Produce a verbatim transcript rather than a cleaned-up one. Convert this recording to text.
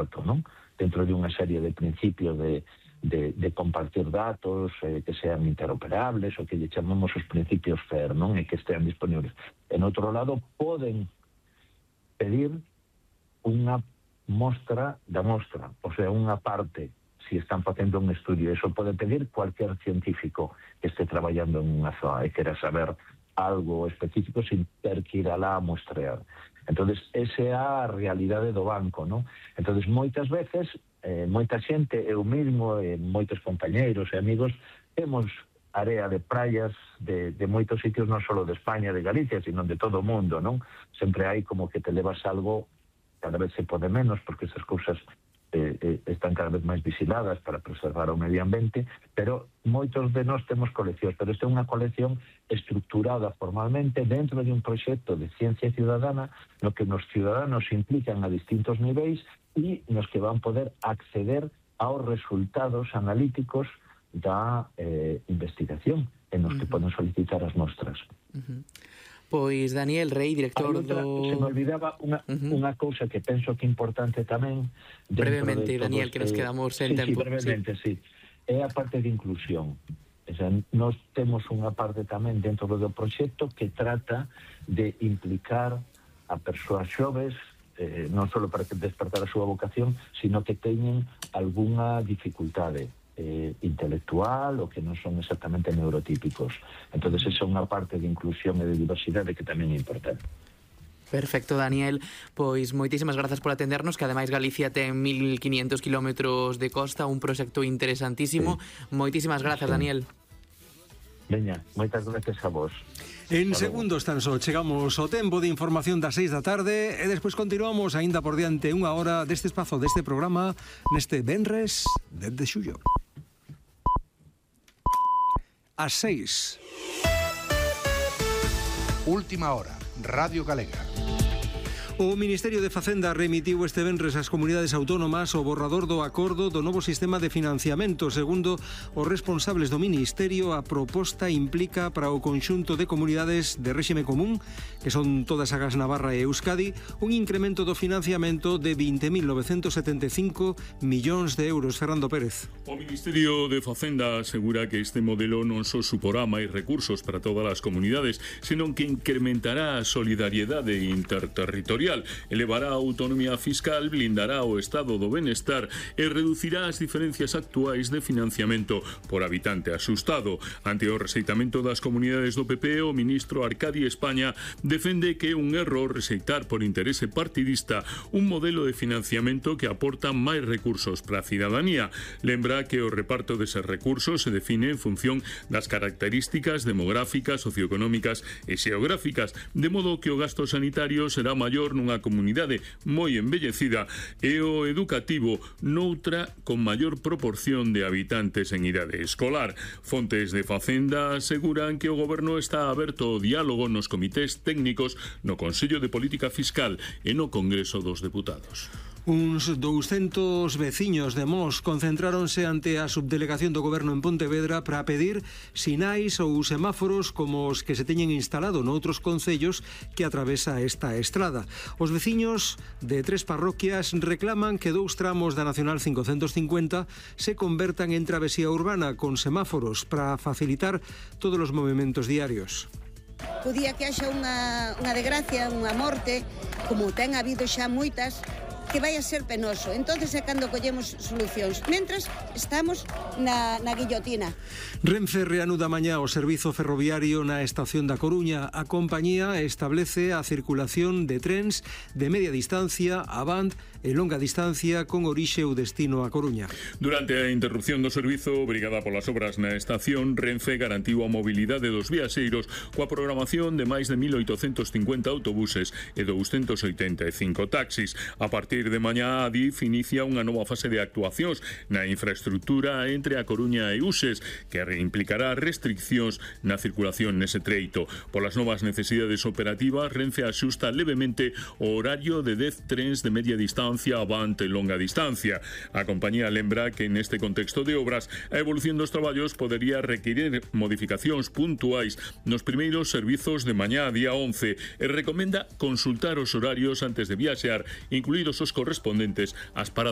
aberto, non? Dentro de unha serie de principios de, de, de compartir datos, eh, que sean interoperables, o que lle chamamos os principios FAIR, non? E que estean disponibles. En outro lado, poden pedir unha mostra da mostra, o sea, unha parte, si están facendo un estudio. Eso pode pedir cualquier científico que esté traballando en unha zona e quera saber algo específico sin ter que ir alá a mostrear. Entonces, esa é a realidade do banco, non? Entonces, moitas veces, eh, moita xente, eu mismo, e moitos compañeiros e amigos, temos área de praias de, de moitos sitios, non só de España, de Galicia, sino de todo o mundo, non? Sempre hai como que te levas algo, cada vez se pode menos, porque esas cousas Eh, eh, están cada vez máis vigiladas para preservar o medio ambiente, pero moitos de nós temos coleccións, pero esta é unha colección estructurada formalmente dentro de un proxecto de ciencia ciudadana no que nos ciudadanos se implican a distintos niveis e nos que van poder acceder aos resultados analíticos da eh, investigación en nos uh-huh. que poden solicitar as mostras. Uh-huh. Pois Daniel Rey, director outra, do... Se me olvidaba unha, uh-huh. unha cousa que penso que é importante tamén. Brevemente, Daniel, que nos quedamos en sí, tempo. Sí, brevemente, sí. sí. É a parte de inclusión. O sea, nós temos unha parte tamén dentro do proxecto que trata de implicar a persoas xoves, eh, non só para despertar a súa vocación, sino que teñen algunha dificultade Eh, intelectual ou que non son exactamente neurotípicos. Entonces esa é unha parte de inclusión e de diversidade que tamén é importante. Perfecto, Daniel. Pois moitísimas grazas por atendernos, que ademais Galicia ten mil quinientos kilómetros de costa, un proxecto interesantísimo. Sí. Moitísimas grazas, sí. Daniel. Veña, moitas gracias a vos. En segundos tan só chegamos ao tempo de información das seis da tarde e despois continuamos aínda por diante unha hora deste espazo, deste programa, neste venres dende xullo. As seis. Última hora, Radio Galega. O Ministerio de Facenda remitiu este venres ás comunidades autónomas o borrador do acordo do novo sistema de financiamento. Segundo os responsables do Ministerio, a proposta implica para o conxunto de comunidades de réxime común, que son todas as Navarra e Euskadi, un incremento do financiamento de vinte mil novecentos setenta e cinco millóns de euros. Fernando Pérez. O Ministerio de Facenda asegura que este modelo non só suporá máis recursos para todas as comunidades, senón que incrementará a solidariedade interterritorial, elevará a autonomía fiscal, blindará o estado do benestar e reducirá as diferencias actuais de financiamento por habitante asustado. Ante o rexeitamento das comunidades do P P, o ministro Arcadi España defende que é un erro rexeitar por interese partidista un modelo de financiamento que aporta máis recursos para a cidadanía. Lembra que o reparto deses recursos se define en función das características demográficas, socioeconómicas e xeográficas, de modo que o gasto sanitario será maior nunha comunidade moi envellecida e o educativo noutra con maior proporción de habitantes en idade escolar. Fontes de Facenda aseguran que o goberno está aberto ao diálogo nos comités técnicos no Consello de Política Fiscal e no Congreso dos Deputados. Uns douscentos veciños de Mos concentráronse ante a subdelegación do goberno en Pontevedra para pedir sinais ou semáforos como os que se teñen instalado noutros concellos que atravesa esta estrada. Os veciños de tres parroquias reclaman que dous tramos da Nacional cincocentos cincuenta se convertan en travesía urbana con semáforos para facilitar todos os movimentos diarios. O día que haxa unha, unha desgracia, unha morte, como ten habido xa moitas, que vai a ser penoso. Entonces é cando collemos solucións. Mentras estamos na, na guillotina. Renfe reanuda mañá o servizo ferroviario na estación da Coruña. A compañía establece a circulación de trens de media distancia, avant e longa distancia con orixe ou destino a Coruña. Durante a interrupción do servizo obrigada polas obras na estación, Renfe garantiu a mobilidade dos viaxeiros coa programación de máis de mil oitocentos cincuenta autobuses e douscentos oitenta e cinco taxis. A partir de mañá, a D I F inicia unha nova fase de actuacións na infraestructura entre a Coruña e Uxes, que implicará restriccións na circulación nese treito. Polas novas necesidades operativas, Renfe axusta levemente o horario de dez trens de media distancia, avant e longa distancia. A compañía lembra que neste contexto de obras, a evolución dos traballos podería requirir modificacións puntuais nos primeiros servizos de mañá día once e recomenda consultar os horarios antes de viaxear, incluídos os correspondentes ás paradas